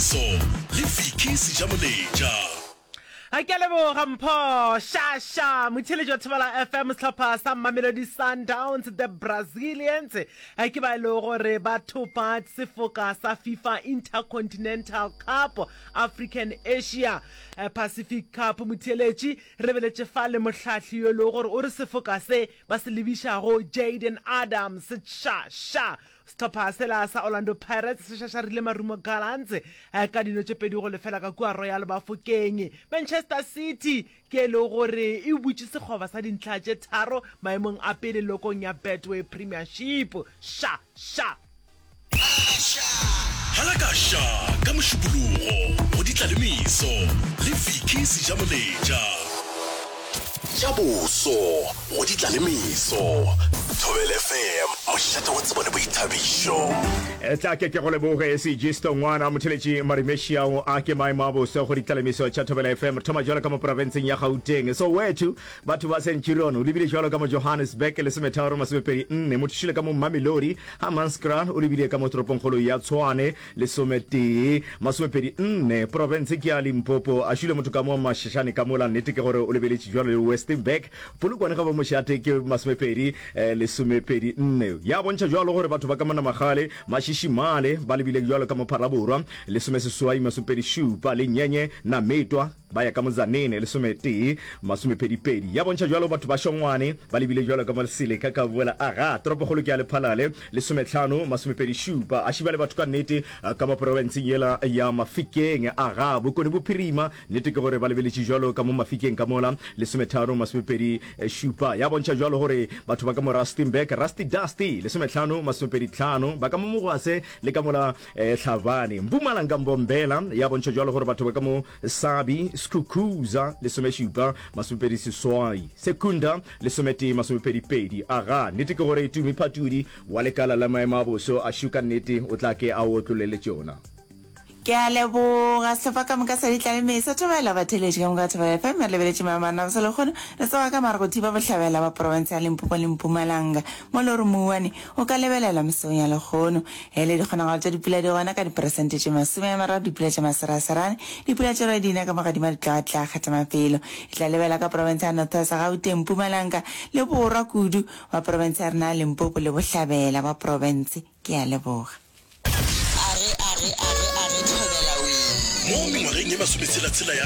meso le Vicky Sejamoletša. A ke a leboga Mpho Shasha, motheeletši wa Thobela FM, sehlopha sa Mamelodi Sundowns, the Brazilians, ke ba e lego gore ba thopa sefoka sa FIFA Intercontinental Cup, African Asia Pacific Cup. Motheeletši, re lebeletše fa le mohlahli yo e lego gore o re sefoka se ba se lebišago Jayden Adams, Shasha. Sehlopha sela sa Orlando Pirates se šašarile Marumo Gallants ka dino tše 2-0 ka kua Royal Bafokeng. Manchester City ke e lego gore e butše sekgoba sa dintlha tše tharo maemong a pele lokong ya Betway Premiership. Ša! Ša! Halakaša ka Mošupologo go Ditlalemeso le Vicky Sejamoletša. Tša boso go ditlalemeso. Thobela FM, mošate wa tsebo le boithabišo. Tla ke ke go leboge Sejisto ngwana motheletši Marimešiao a ke maemo a boso go ditlalemiso tša Thobela FM. Re thoma jwalo ka mo profenseng ya Gauteng. Soweto, batho ba Centurion o lebile jwalo ka mo Johannesburg lesometharo masomepedi nne. Mothušile ka mo Mamelodi, Hammanskraal o lebile ka mo toropongkgolo ya Tshwane Lesometee, masomepedi nne, profense ke ya Limpopo. A šule motho ka mo Mashashane ka mola, nnete ke gore o lebeletše bjalo le Westenburg. Polokwane ga bo mošate ke masomepedi, lesomepedi nne. Ya bontšha bjalo gore batho ba ka mo Namagale, Mashishi-male ba lebile bjalo ka mo Phalaborwa, lesomeseswai, masomepedi šupa, le Nyenye, Nametwa, Ba ya ka mo Tzaneen, lesometee, masomepedipedi. Ya bontšha bjalo batho ba Šongwane ba lebile bjalo ka mo Seleka ka boela. Aga, toropokgolo ke ya Lephalale, lesometlhano, masomepedišupa. A šiba le batho ka nnete ka mo profenseng yela ya Mafikeng. Aga, Bokone Bophirima, nnete ke gore ba lebeletše bjalo ka mo Mafikeng ka mola, lesometharo, masomepedišupa. Ya bontšha bjalo gore batho ba ka mo Rustenburg, Rusty Dusty, lesometlhano, masomepeditlhano. Ba ka mo Mogwase le ka mola Hlabane, Mpumalanga, Mbombela. Ya bontšha bjalo gore batho ba ka mo Sabi, Skukuza, lesomešupa, masomepedi seswai, Secunda, lesometee, masomepedi pedi. Aga, nnete ke gore Tumi Phatudi wa lekala la maemo a boso a shu ka nnete o tla ke a otlolele tšona. Ke a leboga sehlopha ka moka sa Ditlaleme sa Thobela batheeletši ka moka ba Thobela FM. Re lebeletše maemo a rena bosa lehono re tsoga ka mare go thiba bohlabela ba profense ya Limpopo le Mpumalanga mo le gore mouwane o ka lebelelwa mesong ya lehono. Hele dikgonagalo tša dipula di gona ka diperesente tše 30, dipula tša maseraserane, dipula tše di na ka mo gadima di tloga tla kgetha mafelo. E tla lebela ka profense ya North West, Gauteng, Mpumalanga le borwa kudu wa profense ya rena ya Limpopo le bohlabela bwa profense. Ke a leboga. Age, age, age, age, thobela wee. Mo mengwageng ye masometshela-tshela ya.